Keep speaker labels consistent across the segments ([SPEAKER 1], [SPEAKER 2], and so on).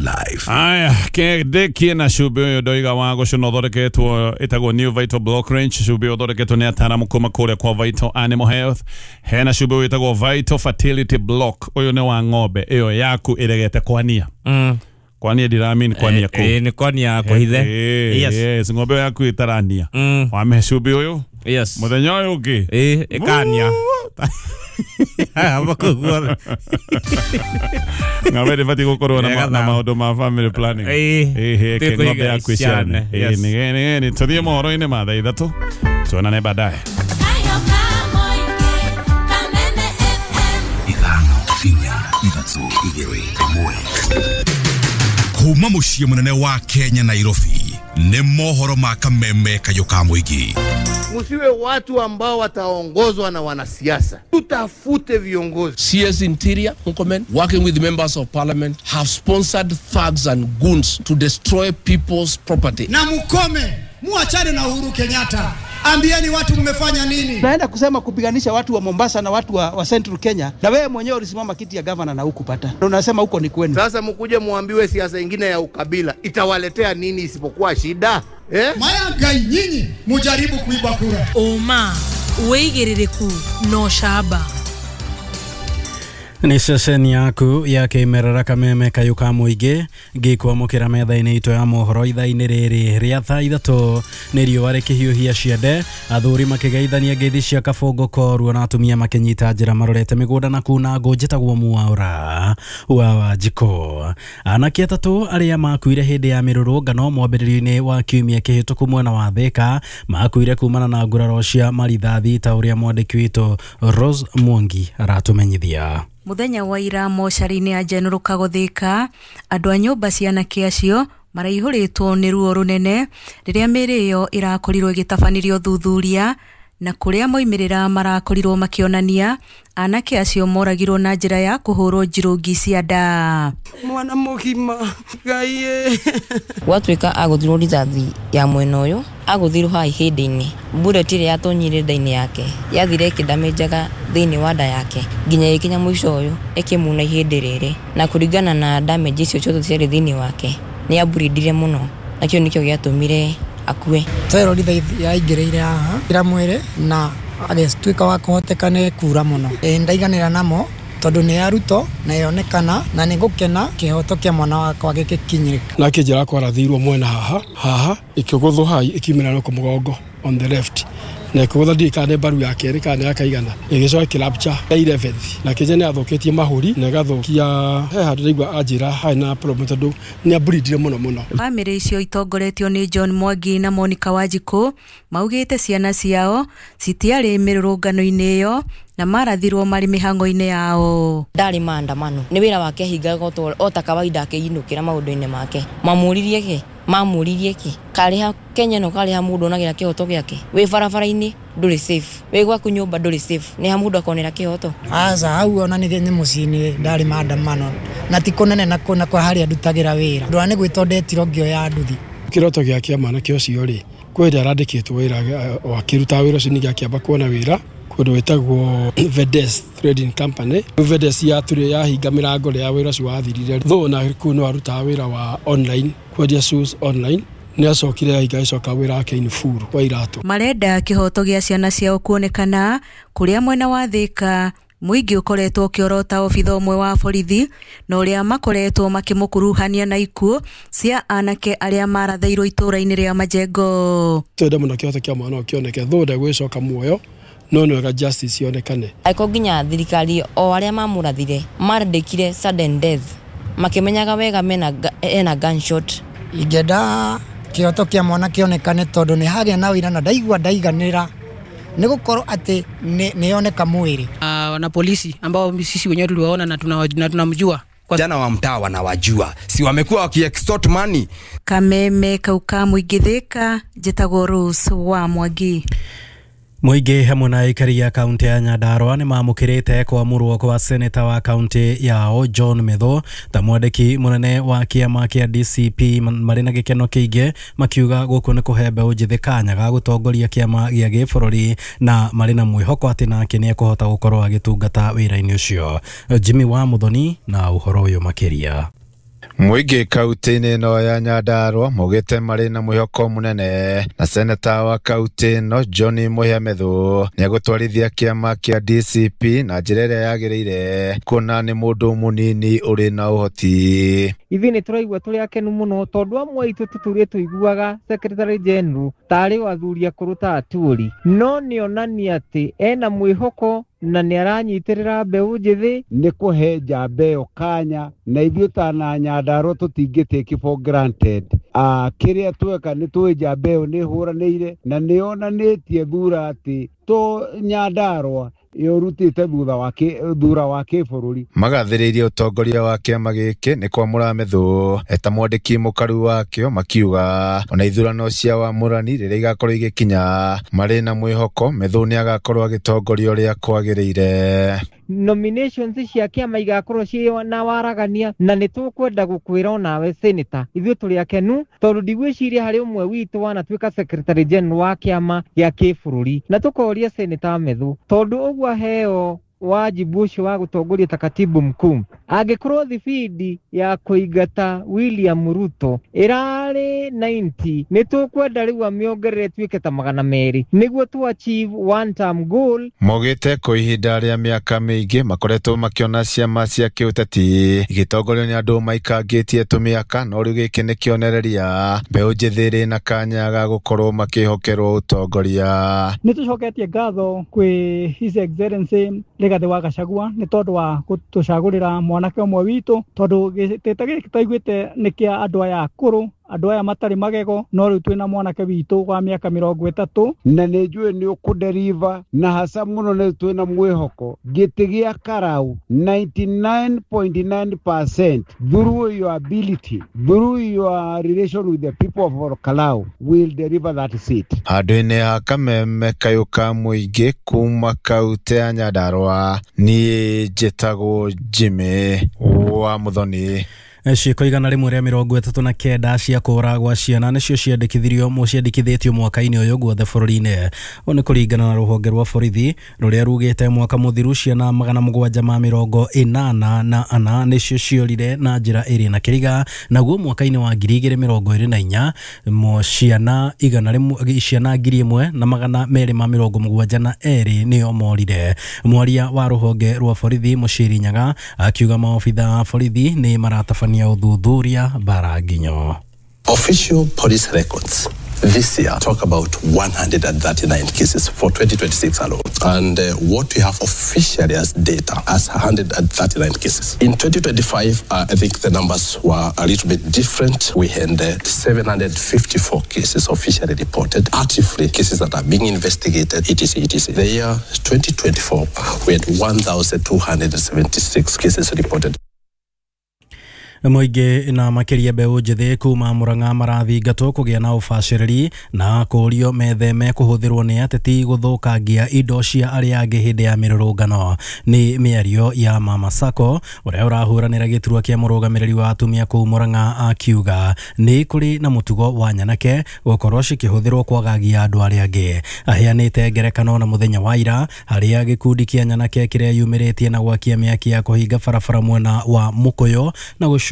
[SPEAKER 1] life.
[SPEAKER 2] Aya, kĩndĩ na cumbĩ ũyũ ndoiga wa gũcũna ũthondeketwo ĩtagwo New Vital Block Range. Cumbĩ ũyũ ũthondeketwo nĩ ataaramu kuma kũrĩa kwa Vital Animal Health. Hena cumbĩ wĩtagwo Vital Fertility Block. Ũyũ nĩ wa ng'ombe ĩyo yaku ĩregete kwania. Kwania ndiramean kwania kũ.
[SPEAKER 3] Nĩ kwania kũhithe.
[SPEAKER 2] Yes. Yes, ng'ombe ĩyo yaku ĩtarania. Wamĩhe cumbĩ ũyũ.
[SPEAKER 3] Yes.
[SPEAKER 2] Mũthenya ũyũ ũngĩ.
[SPEAKER 3] Ĩkania.
[SPEAKER 2] Ng'ombe ndĩbatiĩ gũkorwo na maũndũ ma family planning. Ĩhĩ, ng'ombe yaku ĩciarane. Nĩ tũthiĩ mohoro-inĩ ma thaa 3. Tuonane baadaye.
[SPEAKER 1] 5 4 3 2 1. Kuma mũciĩ mũnene wa Kenya Nairobi nĩ mohoro ma Kameme Kayũ ka Mũingĩ.
[SPEAKER 4] Musiwe watu ambao wataongozwa na wanasiasa. Tutafute viongozi.
[SPEAKER 5] CS Interior Murkomen, working with members of parliament, have sponsored thugs and goons to destroy people's property.
[SPEAKER 6] Na mukome, muachane na Uhuru Kenyatta. Ambieni watu mmefanya nini?
[SPEAKER 7] Naenda kusema kupiganisha watu wa Mombasa na watu wa Central Kenya, na wewe mwenyewe ulisimama kiti ya governor na hukupata. Unasema huko ni kwenu.
[SPEAKER 4] Sasa mkuje muambiwe siasa nyingine ya ukabila itawaletea nini isipokuwa shida?
[SPEAKER 6] Maya nyinyi mujaribu kuiba kura.
[SPEAKER 8] Oma weigirireku no shaba.
[SPEAKER 9] Nĩ ceceni yaku ya kĩmerera Kameme Kayũ ka Mũingĩ ngĩkwamũkĩra metha-inĩ itũ ya mohoro ithaa-inĩ rĩrĩ rĩa thaa 3. Nĩ riũa rĩkĩhiũhia ciande, athuri makĩgeithania ngeithi cia kabũngũ koruo na atumia makĩnyita njĩra marorete mĩgũnda na kuna ngũ. Njĩtagwo Mwaũra wa Wanjikũ. Anake 3 arĩa makuire hĩndĩ ya mĩrũrũngano mwambĩrĩrio-inĩ wa kiumia kĩhĩtũku mwena wa Thĩka makuire kumana na nguraro cia marithathi ta ũrĩa mwandĩki witũ Rose Mwangi aratũmenyithia.
[SPEAKER 8] Muthenya wa ira mocarĩ-inĩ ya General Kagothika, andũ a nyũmba cia anake acio maraihũrĩtwo nĩ ruo rũnene rĩrĩa mĩĩrĩ ĩyo ĩrakorirwo ĩgĩtabanĩrio thuthuria, na kũrĩa moimĩrĩra marakorirwo makĩonania anake acio moragirwo na njĩra ya kũhũrwo njirũngi cia nda.
[SPEAKER 10] Mwana mũgima Ngai
[SPEAKER 11] gwatuĩka agũthirwo rithathi ya mwena ũyũ, agũthirwo haha ihĩndĩ-inĩ. Bullet ĩrĩa yatonyire nda-inĩ yake yathire ĩkĩndamĩnjaga thĩinĩ wa nda yake nginya ĩkinya mũico ũyũ ĩkĩmuna ihĩndĩ rĩrĩ, na kũringana na damage icio ciothe ciarĩ thĩinĩ wake nĩ aburindire mũno, na kĩu nĩkĩo gĩatũmire akue.
[SPEAKER 10] Twerwo rithathi yaingĩrĩire haha ira mwĩrĩ na agĩtuĩka wa kũhoteka nĩ kura mũno. Ndaiganĩra namo tondũ nĩ ya Ruto na yonekana, na nĩ ngũkena kĩhoto kĩa mwana wakwa gĩgĩkinyĩrĩka.
[SPEAKER 12] Nake njĩra kwarathirwo mwena haha haha ĩkĩgũthwo haha ĩkiumĩra no mũgongo on the left, na ĩkĩgũtha ndiũĩ kana nĩ mbaru ya kerĩ kana nĩ ya kaigana, ĩgĩcoka ĩkĩrapture ya 11th. Na kĩnja nĩ athũkĩtie mahũri na ĩgathũkia he handũ ndaigua anjĩra harĩ na problem tondũ nĩ aburindire mũno mũno.
[SPEAKER 8] Bamĩrĩ icio itongoretio nĩ John Mwangi na Monica Wanjikũ maugĩte ciana ciao citiarĩ mĩrũrũngano-inĩ ĩyo na marathirwo marĩ mĩhang'o-inĩ yao.
[SPEAKER 11] Ndarĩ maandamano, nĩ wĩra wake ahingaga o ta kawaida akĩinũkĩra maũndũ-inĩ make. Mamũririe kĩ? Mamũririe kĩ? Karĩha Kenya no karĩha mũndũ onagĩra kĩhoto gĩake. Wĩ barabara-inĩ ndũrĩ safe, wĩ gwaku nyũmba ndũrĩ safe, nĩ ha mũndũ akonera kĩhoto?
[SPEAKER 10] Aca hau ona nĩ mũciĩ-inĩ ndarĩ maandamano na ti kũnene na kũna kwa harĩa ndutagĩra wĩra. Ndũra nĩ gwĩtwo ndetirwo ngĩoya nduthi.
[SPEAKER 12] Kĩroto gĩa kĩa mwanake ũcio rĩ, kwĩ hĩndĩ arandĩkĩtwo wĩra akĩrutaga wĩra ũcio ningĩ akĩamba kuona wĩra kũndũ wĩtagwo Vedes Trading Company. Vedes yaturire yahinga mĩrango rĩrĩa wĩra ũcio wathirire. Though na kũu no arutaga wĩra wa online, kwendia shoes online. Nĩ acokire yahinga agĩcoka wĩra wake in full wa iratũ.
[SPEAKER 8] Marenda kĩhoto gĩa ciana ciao kuonekana kũrĩa mwena wa Thĩka mũingĩ ũkoretwo ũkĩorota obitha ũmwe wa borithi na ũrĩa makoretwo makĩmũkuruhania na ikuũ cia anake arĩa marathairwo itũũra-inĩ rĩa Majengo.
[SPEAKER 12] Twende mũno kĩhoto kĩa mwana ũyũ kĩoneke, though ndegwĩcoka muoyo no nĩ wega justice yonekane.
[SPEAKER 11] Angĩkorwo nginya thirikari o arĩa mamũrathire marandĩkire sudden death makĩmenyaga wega ena gunshot.
[SPEAKER 10] Ingĩenda kĩhoto kĩa mwana kĩonekane tondũ nĩ hagĩa na ũira na ndaigua ndaiganĩra nĩ gũkorwo atĩ nĩ yoneka mwĩrĩ.
[SPEAKER 13] Wana polisi ambao sisi wenyewe tuliwaona na tunamjua.
[SPEAKER 14] Jana wa mtaa wanawajua, si wamekuwa wakiextort money.
[SPEAKER 8] Kameme kau ka Mũingĩ Thĩka, njĩtagwo Rose wa Mwangi.
[SPEAKER 9] Mũingĩ hamwe na aikari ya kaunti ya Nyandarua nĩ mamũkĩrĩte kwamũrwo kwa seneta wa kaunti yao John Methu ta mwandĩki mũnene wa kĩama kĩa DCP marĩ na gĩkeno kĩingĩ, makiuga gũkũ nĩ kũhe mbeũ njĩthĩ kanya ga gũtongoria kĩama gĩa gĩbũrũri na marĩ na mwĩhoko atĩ nake nĩ ekũhota gũkorwo agĩtungata wĩra-inĩ ũcio. Jimmy wa Muthoni na ũhoro ũyũ makĩria.
[SPEAKER 15] Mũingĩ kaunti-inĩ ĩno ya Nyandarua maugĩte marĩ na mwĩhoko mũnene na seneta wa kaunti ĩno John Mũhia Methu nĩegũtwarithia kĩama kĩa DCP na njĩra ĩrĩa yagĩrĩire, kuona nĩ mũndũ mũnini ũrĩ na ũhoti.
[SPEAKER 16] Ithuĩ nĩ tũraigua tũrĩ akenu mũno tondũ amwe aitũ tũtũrĩte tũiguaga secretary general tarĩ o athuri akũrũ ta Aturi, no nĩonania atĩ ena mwĩhoko na nĩ aranyitĩrĩra mbeũ njĩthĩ.
[SPEAKER 17] Nĩ kũhe njamba ĩyo kanya na ithuĩ ta na Nyandarua tũtingĩ take for granted. Kĩrĩa tweka nĩ tũĩ njamba ĩyo nĩ ĩhũranĩire na nĩ yonanĩtie thura atĩ to Nyandarua ĩũrutĩte thura wa kĩbũrũri.
[SPEAKER 15] Magathĩrĩirie ũtongoria wa kĩama gĩkĩ nĩ kwamũra Methu eta mwandĩki mũkaru wakĩo, makiuga ona ithurano cia wamũrani rĩrĩa igakorwo igĩkinya marĩ na mwĩhoko Methu nĩagakorwo agĩtongoria ũrĩa kwagĩrĩire.
[SPEAKER 16] Nominations cia kĩama igakorwo ciĩ na waragania na nĩ tũkwenda gũkwĩra onawe senator ithuĩ tũrĩ akenu tondũ ndigwĩciria harĩ ũmwe witũ wanatuĩka secretary general wa kĩama gĩa kĩbũrũri, na tũkoria senator Methu tondũ ũguo aheo wajibu ũcio wa gũtongoria ta katibu mkuu, angĩkorwo thibindi ya kũingata William Ruto ĩrarĩ 90 nĩ tũkwenda rĩu amĩongerere ĩtuĩke ta 200 nĩguo tu achieve one term goal.
[SPEAKER 15] Maugĩte kwa ihinda rĩa mĩaka mĩingĩ makoretwo makĩona ciama cia kĩũteti igĩtongorio nĩ andũ maikangĩtie tũmĩaka, no rĩu gĩkĩ nĩ kĩonereria mbeũ njĩthĩ ĩrĩ na kanya ga gũkorwo makĩhokerwo ũtongoria.
[SPEAKER 18] Nĩ tũcoketie ngatho kwĩ His Excellency Rigathi wa Gachagua nĩ tondũ wa gũtũcagũrĩra mwanake ũmwe witũ, tondũ gĩtĩ gĩkĩ twaiguĩte nĩ kĩa andũ aya akũrũ, andũ aya matarĩ magego, no rĩu twĩna mwanake witũ wa mĩaka 30.
[SPEAKER 17] Na nĩ njũĩ nĩ ũkũderiva na haca mũno, nĩ twĩna mwĩhoko gĩtĩ gĩa Karau 99.9% through your ability, through your relation with the people of Karau will deliver that seat.
[SPEAKER 15] Handũ-inĩ ha kameme kayũ ka mũingĩ kuma kaunti ya Nyandarua, niĩ njĩtagwo Jimmy wa Muthoni.
[SPEAKER 9] Ciĩko 139 cia kũũragwa ciana nĩcio ciandĩkithĩtio mwaka-inĩ ũyũ guothe bũrũri-inĩ. Ũũ nĩ kũringana na rũhonge rwa borithi rũrĩa rugĩte mwaka mũthiru ciana 784 nĩcio ciorire na njĩra ĩrĩ na kĩriga, naguo mwaka-inĩ wa 2024 ciana 1272 nĩo morire. Mwaria wa rũhonge rwa borithi Mũciri Nyaga akiuga maobitha a borithi nĩ maratabania uthuthuria bara nginyo.
[SPEAKER 19] Official police records this year talk about 139 cases for 2026 alone. And what we have officially as data as 139 cases. In 2025, I think the numbers were a little bit different. We had 754 cases officially reported, actively cases that are being investigated, etc., etc. The year 2024, we had 1,276 cases reported.
[SPEAKER 9] Mũingĩ na makĩria mbeũ njĩthĩ kuma Murang'a marathingatwo kũgĩa na ũbacĩrĩri na kũũrio metheme kũhũthĩrwo nĩ ateti gũthũkangia indo cia arĩa angĩ hĩndĩ ya mĩrũrũngano. Nĩ mĩario ya Mama Sacco ũrĩa ũrahũranĩra gĩturwa kĩa mũrũgamĩrĩri wa atumia kũu Murang'a akiuga nĩ kũrĩ na mũtugo wa nyanake gũkorwo cikĩhũthĩrwo kwagagia andũ arĩa angĩ. Aheanĩte ngerekano na mũthenya wa ira harĩa gĩkundi kĩa nyanake kĩrĩa yumĩrĩtie na gwakia mĩaki ya kũhinga barabara mwena wa Mũkũyũ na gũcũngĩrĩria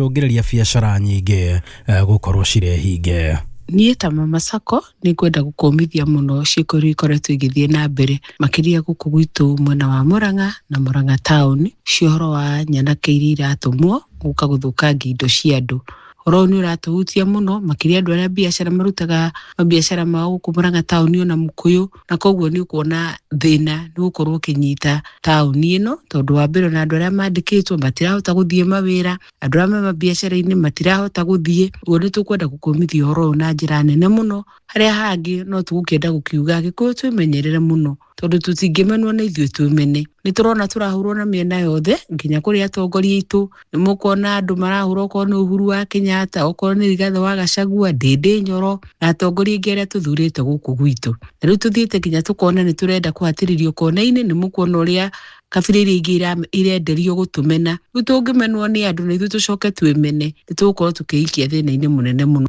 [SPEAKER 9] biacara nyingĩ gũkorwo cirĩ hinge.
[SPEAKER 20] Niĩ ta Mama Sacco nĩ ngwenda gũkũmithia mũno ciĩko iria ikoretwo igĩthiĩ na mbere makĩria gũkũ gwitũ mwena wa Murang'a na Murang'a town cia ũhoro wa nyanake iria iratũmwo gũka gũthũkangia indo cia andũ. Ũhoro ũyũ nĩ ũratũhutia mũno makĩria andũ arĩa biacara marutaga mabiacara mao gũkũ Murang'a town ona Mũkũyũ, na koguo nĩ ũkuona thĩna nĩ gũkorwo ũkĩnyita taũni ĩno tondũ wa mbere ona andũ arĩa mandĩkĩtwo matirahota gũthiĩ mawĩra, andũ arĩa me mabiacara-inĩ matirahota gũthiĩ. Ũguo nĩ tũkwenda gũkũmithia ũhoro ũyũ na njĩra nene mũno. Harĩa hangĩ no tũgũkĩenda gũkiuga Gĩkũyũ twĩmenyerere mũno tondũ tũtingĩmenwo nĩ ithuĩ twĩmene. Nĩ tũrona tũrahũrwo na mĩena yothe nginya kũrĩ atongoria aitũ, nĩ mũkuona andũ marahũrwo okorwo nĩ Uhuru wa Kenyatta, okorwo nĩ Rigathĩ wa Gachagua, Ndĩndĩ Nyoro na atongoria aingĩ arĩa tũthurĩte gũkũ gwitũ. Na rĩu tũthiĩte nginya tũkona nĩ tũrenda kũhatĩrĩrio kona-inĩ, nĩ mũkuona ũrĩa kabira iria ingĩ irenderio gũtũmena. Rĩu tũngĩmenwo nĩ andũ na ithuĩ tũcoke twĩmene, nĩ tũgũkorwo tũkĩikia thĩna-inĩ mũnene mũno.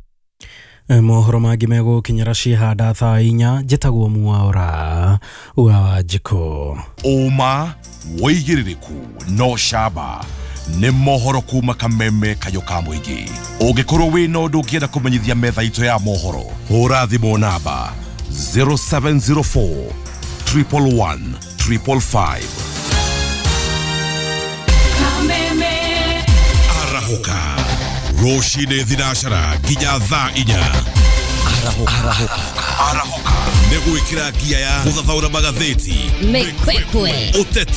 [SPEAKER 9] Mohoro mangĩ megũkinyĩra ciĩhanda thaa 4. Njĩtagwo Mwaura wa Wanjikũ.
[SPEAKER 1] Ũma wĩigĩrĩrĩku no camba Nĩ mohoro kuma kameme kayũ ka mũingĩ. Ũngĩkorwo wĩna ũndũ ũngĩenda kũmenyithia metha itũ ya mohoro, hũra thimũ namba 0704 111 555. Arahũka rũcinĩ thinacara nginya thaa 4. Arahũka nĩ gwĩkĩra ngia ya gũthathaũra magathĩti,
[SPEAKER 21] Mĩkwekwe,
[SPEAKER 1] ũteti.